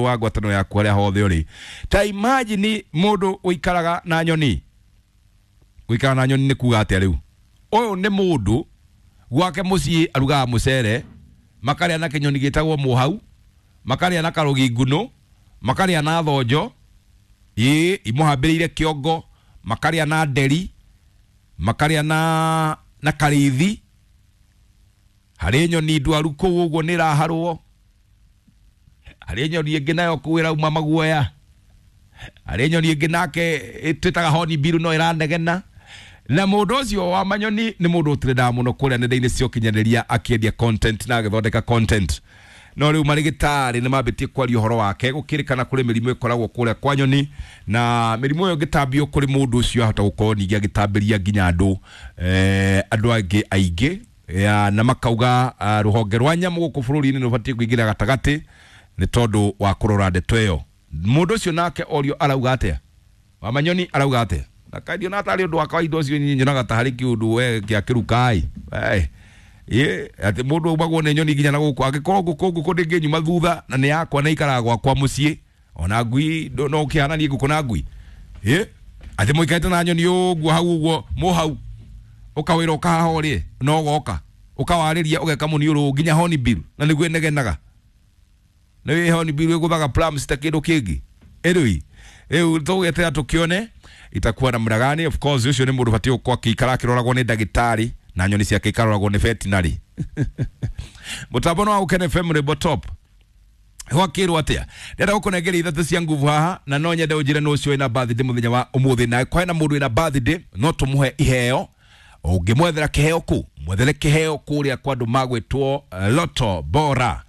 Wa ngwatanĩro yaku harĩa hothe ũrĩ. Ta imagine mũndũ ũikaraga na nyoni. Gũikara na nyoni nĩ kuga atĩa? Rĩu ũyũ nĩ mũndũ gwake mũciĩ arugaga mũcere, makarĩa na kĩnyoni gĩtagwo mũhau, makarĩa na karũgi ngunũ, makarĩa na thonjo ĩĩ imũhambĩrĩire kĩongo, makarĩa na nderi, makarĩa na karĩithi. Harĩ nyoni ndwaru kũu ũguo nĩ ĩraharwo, harĩ nyoni ĩngĩ nayo kũu ĩrauma maguoya, harĩ nyoni ĩngĩ nake twĩtaga hornbill no ĩranegena. Na mũndũ ũcio wa manyoni nĩ mũndũ ũtrendaga mũno kũrĩa nenda-inĩ cia ũkinyanĩria, akĩendia content na agĩthondeka content. No rĩu marĩgĩtarĩ nĩ mambĩtie kwaria ũhoro wake, gũkĩrĩkana kũrĩ mĩrimũ ĩkoragwo kũrĩa kwa nyoni, na mĩrimũ ĩyo ĩngĩtambio kũrĩ mũndũ ũcio, ahota gũkorwo ningĩ agĩtambĩria nginya andũ andũ angĩ aingĩ ya, na makauga rũhonge rwa nyamũ gũkũ bũrũri-inĩ nĩ rũbatiĩ kũingĩra gatagatĩ nĩ tondũ wa kũrora ndeto ĩyo. Mũndũ ũcio nake orio arauga atĩa, wa manyoni arauga atĩa? Na kaindio na tarĩ ũndũ wa kawaida ũcio, niĩ nyonaga ta harĩ kĩũndũ we gĩa kĩrukai. Ĩ atĩ mũndũ aumagwo nĩ nyoni nginya na gũkũ? Angĩkorwo ngũkũ ndĩngĩnyuma thutha na nĩ yakwa na ikaraga gwakwa mũciĩ, ona ngui no ũkĩhananie ngũkũ na ngui. Ĩ atĩ mũikarĩte na nyoni ũguo hau ũguo mũhau ũkawĩra ũkahaha ũrĩe no ũgoka ũkawarĩria ũgeka mũniũrũ nginya hornbill na nĩguo ĩnegenaga, nĩ hornbill ĩgũthaga plums ta kĩndũ kĩngĩ. Anyway, rĩu tũgwetera tũkĩone itakuwa namna gani. Of course ũcio nĩ mũndũ batiĩ gũkorwo akĩikara akĩroragwo nĩ ndagĩtarĩ na nyoni ciake ikaroragwo nĩ veterinary. Mũtambo no wa Gũkena FM, rwĩmbo top. Gwakĩrwo atĩa? Ndĩrenda gũkũnengeria ithatũ cia nguvu haha, na no nyende ũnjĩre nũ ũcio wĩna birthday mũthenya wa ũmũthĩ. Na kwena mũndũ wĩna birthday, no tũmũhe iheo. Ũngĩmwethera kĩheo kũ? Mwethere kĩheo kũrĩa kwa andũ magwĩtwo Loto Bora.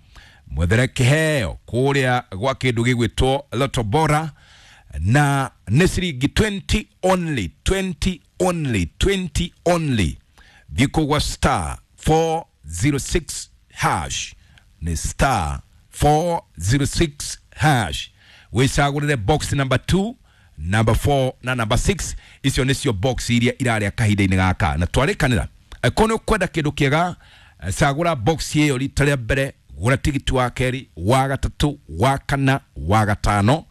Mwethere kĩheo kũrĩa gwa kĩndũ gĩgwĩtwo Loto Bora, na nĩ ciringi 20 only, 20 only, 20 only. Thiĩ kũu gwa star 406 hash, nĩ star 406 hash, wĩcagũrĩre box number 2, number 4 na number 6. Icio nĩcio box iria irarĩa kahinda-inĩ gaka na twarĩkanĩra. Angĩkorwo nĩ ũkwenda kĩndũ kĩega, cagũra box ĩyo rita rĩa mbere, gũra tigiti wa kerĩ, wa gatatũ, wa kana, wa gatano.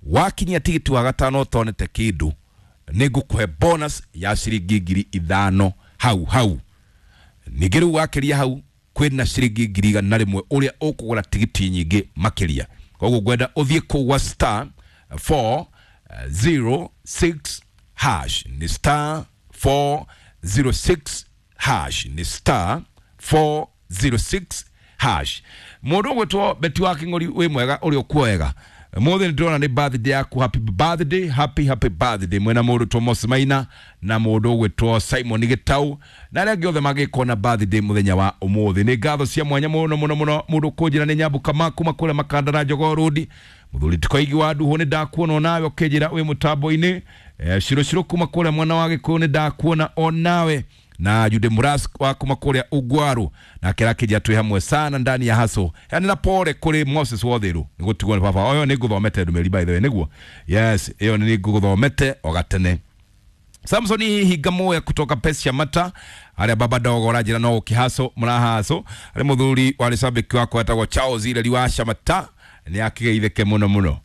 Wakinyia tigiti wa gatano ũtonete kĩndũ, nĩ ngũkũhe bonus ya ciringi 5,000 hau hau. Ningĩ rĩu wakĩria hau, kwĩna ciringi 100,000 ũrĩa ũkũgũra tigiti nyingĩ makĩria. Koguo ngwenda ũthiĩ kũu gwa star 406 hash, nĩ star 406 hash, nĩ star 406 hash. Mũndũ ũgwĩtwo Beti wa Kĩng'ori, wĩ mwega ũrĩa ũkuo wega? Mũthĩ nĩ ndĩrona nĩ birthday yaku. Happy birthday, happy happy birthday mwena mũndũ Thomas Maina na mũndũ ũgwĩtwo Simon Gĩtau na arĩa angĩ othe mangĩkorwo na birthday mũthenya wa ũmũthĩ. Nĩ ngatho cia mwanya mũno mũno mũno. Mũndũ kũnjĩra nĩ Nyambuka kuma kũrĩa Makanda na Jogoo Road. Mũthuri Tikoigi wa Nduhũ, nĩ ndakuona onawe ũkĩnjĩra wĩ mũtambo-inĩ. Ciro Ciro kuma kũrĩa mwena wa Gĩkũyũ, nĩ ndakuona onawe, na Jude Muras wa kuma kũrĩa Ugwaru nake arakĩnjĩra twĩ hamwe sana ndani ya haso. Yani na pole kũrĩ Moses Wothiru nĩ gũtigwo nĩ baba. Oyo nĩ ngũthomete ndũmĩrĩri, by the way, nĩguo. Yes, ĩyo nĩ ngũthomete o gatene. Samson Hinga Moya kutoka Pesa Mata harĩa baba dogo ũranjĩra no ũkĩhaco mũrahaco. Harĩ mũthuri warĩ cabĩki wakwa etagwo Charles Ireri wa Shamata, nĩ akĩgeithĩke mũno mũno.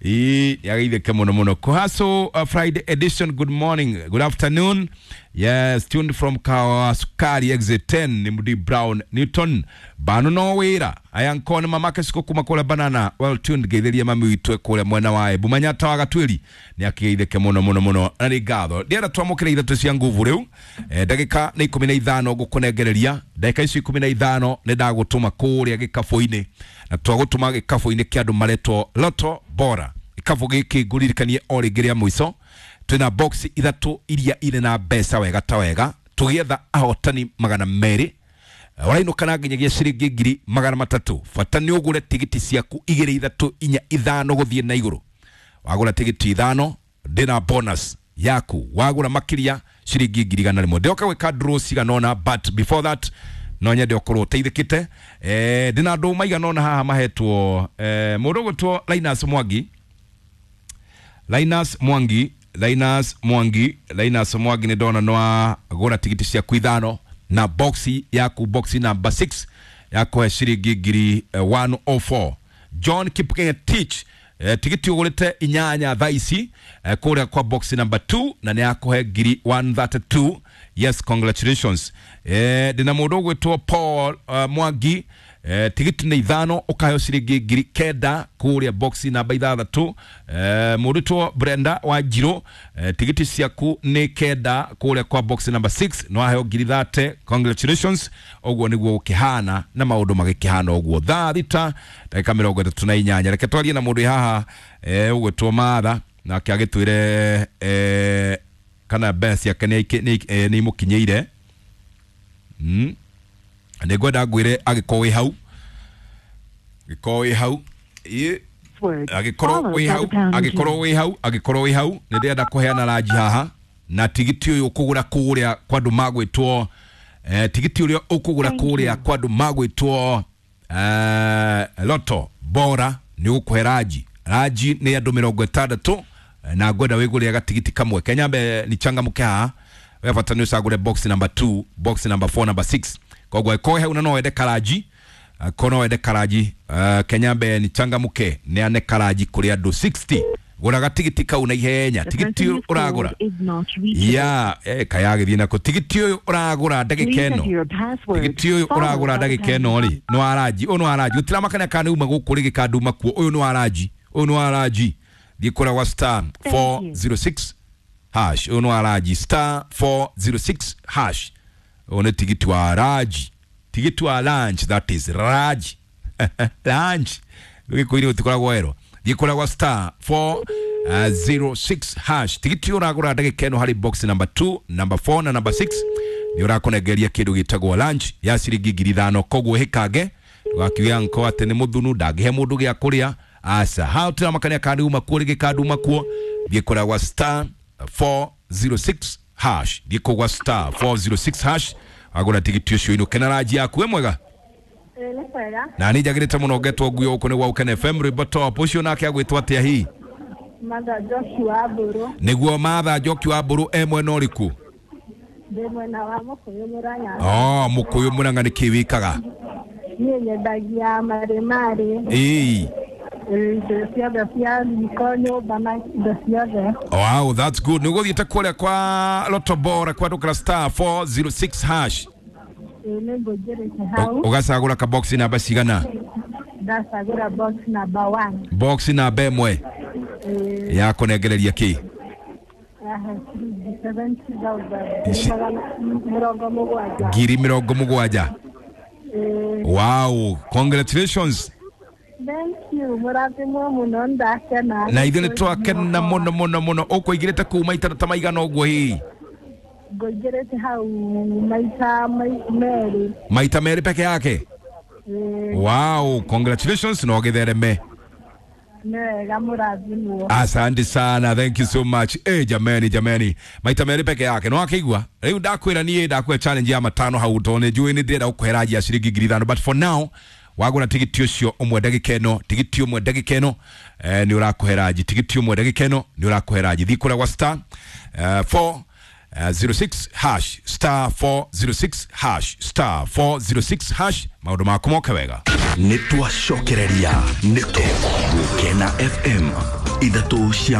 Ii nĩ mũno mũno. Kuhaso Friday edition, good morning, good afternoon. Yes, tuned from Kawasukari exit 10, ni Mudi Brown Newton bano no wĩra aya nkone mamake siko kuma kũrĩa banana. Well tuned, geithĩria mami witũ kũrĩa mwena wa Embu Manyata wa Gatwĩri, nĩ akĩgeithĩke mũno mũno mũno na nĩ ngatho. Ndĩrenda twamũkĩre ithatũ cia nguvu rĩu. Ndagĩka nĩ 15 ngũkũnengereria. Ndagĩka icio 15 nĩ ndagũtũma kũrĩa gĩkabũ-inĩ, na twagũtũma gĩkabũ-inĩ kĩa andũ maretwo Loto Bora. Gĩkabũ gĩkĩ ngũririkanie o rĩngĩ rĩa mũico, twĩna box ithatũ iria irĩ na mbeca wega ta wega, tũgĩetha ahotani 200. Ũrainũka na nginyagia ciringi 300,000. Bata nĩ ũgũre tigiti ciaku igĩrĩ, ithatũ, inya, ithano gũthiĩ na igũrũ. Wagũra tigiti ithano, ndĩna bonus yaku. Wagũra makĩria, ciringi 100,000. Ndĩroka gwĩka draw cigana ũna, but before that no nyende ũkorwo ũteithĩkĩte. Ndĩna andũ maigana ũna haha mahetwo. Mũndũ ũgwĩtwo Linus Mwangi, Linus Mwangi, Linus Mwangi, Linus Mwangi, nĩ ndona nĩ wagũra tigiti ciaku ithano na boxi yaku, boxi number 6 yakũhe ciringi 104. John Kipngetich, tigiti ugurite inyanya thaa ici, kuria kwa box number 2 na nĩ akũhe ngiri 132. Yes, congratulations. Ndĩna mũndũ ũgwĩtwo Paul Mwangi, tigiti nĩ ithano ũkaheo ciringi 9,000 kũrĩa box namba ithathatũ. Mũndũ ũgwĩtwo Brenda Wanjirũ, tigiti ciaku nĩ kenda kũrĩa kwa box number 6 no aheo ngiri 30. Congratulations. Ũguo nĩguo gũkĩhana na maũndũ magĩkĩhana ũguo. Thaa thita ndagĩka 38, reke twarie na mũndũ wĩ haha, ũgwĩtwo Matha, nake agĩtwĩre kana mbeca ciake nĩ imũkinyĩire. Nĩ ngwenda ngwĩre angĩkorwo wĩ hau, angĩkorwo wĩ hau, ĩ, Password angĩkorwo followed wĩ by hau, the pound angĩkorwo key. wĩ hau, angĩkorwo wĩ hau, nĩ ndĩrenda kũheana ranji haha na tigiti ũyũ ũkũgũra kũrĩa kwa andũ magwĩtwo, tigiti ũrĩa ũkũgũra Thank kũrĩa you. kwa andũ magwĩtwo Loto Bora nĩ ũgũkũhe ranji. Ranji nĩ andũ 60, na ngwenda wĩgũrĩre gatigiti kamwe kenyambe ni changamke haha. We bata nĩ ũcagũre box number 2, box number 4, number 6. Koguo angĩkorwo hau na no wende karanji, angĩkorwo no wende karanji, kenyambe ni changamke neane karanji kũrĩ andũ 60. Gũra gatigiti kau na ihenya. The Tigiti person you've ũragũra called is not reachable. ya kayagĩthiĩ nako. Tigiti ũyũ ũragũra ndagĩka Please ĩno, enter your password tigiti ũyũ followed ũragũra by the ndagĩka pound ĩno key. rĩ nĩ wa ranji. Ũyũ nĩ wa ranji, gũtiramakania kana nĩ uma gũkũ rĩngĩ kana nduma kuo. Ũyũ nĩ wa ranji, ũyũ nĩ wa ranji. Thiĩ kũrĩa gwa star Thank you. 406 hash. Ũyũ nĩ wa ranji, star 406 hash. Ũyũ nĩ tigiti wa ranji, tigiti wa lunch, that is ranji, lunch gĩkũire gũtikoragwo werũ. Thiĩ kũrĩa gwa star 406 hash. Tigiti ũyũ ũragũra ndagĩka ĩno harĩ box number 2, number 4 na number 6 nĩ ũrakũnengeria kĩndũ gĩtagwo lunch ya ciringi 5,000. Koguo hĩkange ndũgakiuge anko atĩ nĩ mũthunu ndangĩhe mũndũ gĩa kũrĩa. Aca hau tũramakania kana nĩ uma kuo rĩngĩ kana nduma kuo. Thiĩ kũrĩa gwa star 406 hash, thiĩ kũu gwa star 406 hash wagũra tigiti ũcio inũke na ranji yaku. Wĩ mwega? Ĩĩ nĩ kwega. Na nĩ njagĩrĩte mũno ngetwo nguo gũkũ nĩ gwa Ũkene FM rwĩmbo top. Ũcio nake agwĩtwo atĩa hihi? Martha Njoki wa Mbũrũ. Nĩguo Martha Njoki wa Mbũrũ, e mwena ũrĩkũ? Ndĩ mwena wa Mũkũyũ Mũrang'a. Oh, Mũkũyũ Mũrang'a. Nĩ kĩ wĩkaga? Niĩ nyendagia marĩmarĩ. Ĩĩ. Indo ciothe cia riko, nyũmba na indo ciothe. Wow, that's good. Nĩ ũgũthiĩte kũrĩa kwa Loto Bora kwandũkĩra star 406 hash? Ĩĩ nĩ ngũingĩrĩte hau. Ũgacagũra ka box namba cigana? Ndacagũra box number 1. Box namba ĩmwe. Ĩĩ. Ya kũnengereria kĩ? Yahe ciringi 70,000. Ici- 70. 70,000. Ĩĩ. Wow, congratulations. Thank you, mũrathimwo mũno, ndakena. Na ithuĩ nĩ twakena mũno mũno mũno. Ũkũingĩrĩte kũu maita ta maigana ũguo hihi? Ngũingĩrĩte hau maita merĩ. Maita merĩ peke yake? Ĩĩ. Wow, congratulations na ũgĩthereme. Nĩ wega, mũrathimwo. Asante sana, thank you so much. Jameni, jameni, maita merĩ peke yake no akĩigua rĩu ndakwĩra niĩ ndakwĩra challenge ya matano hau tondũ nĩ njũĩ nĩ ndĩrenda gũkũhe ranji ya ciringi 5,000. But for now wagũra tigiti ũcio ũmwe ndagĩka ĩno, tigiti ũmwe ndagĩka ĩno, nĩ ũrakũhe ranji. Tigiti ũmwe ndagĩka ĩno nĩ ũrakũhe ranji. Thiĩ kũrĩa gwa star 4 06 hash, star 406 hash, star 406 hash. Maũndũ maku moke wega. Nĩ twacokereria nĩtũ Gũkena FM ithatũ cia.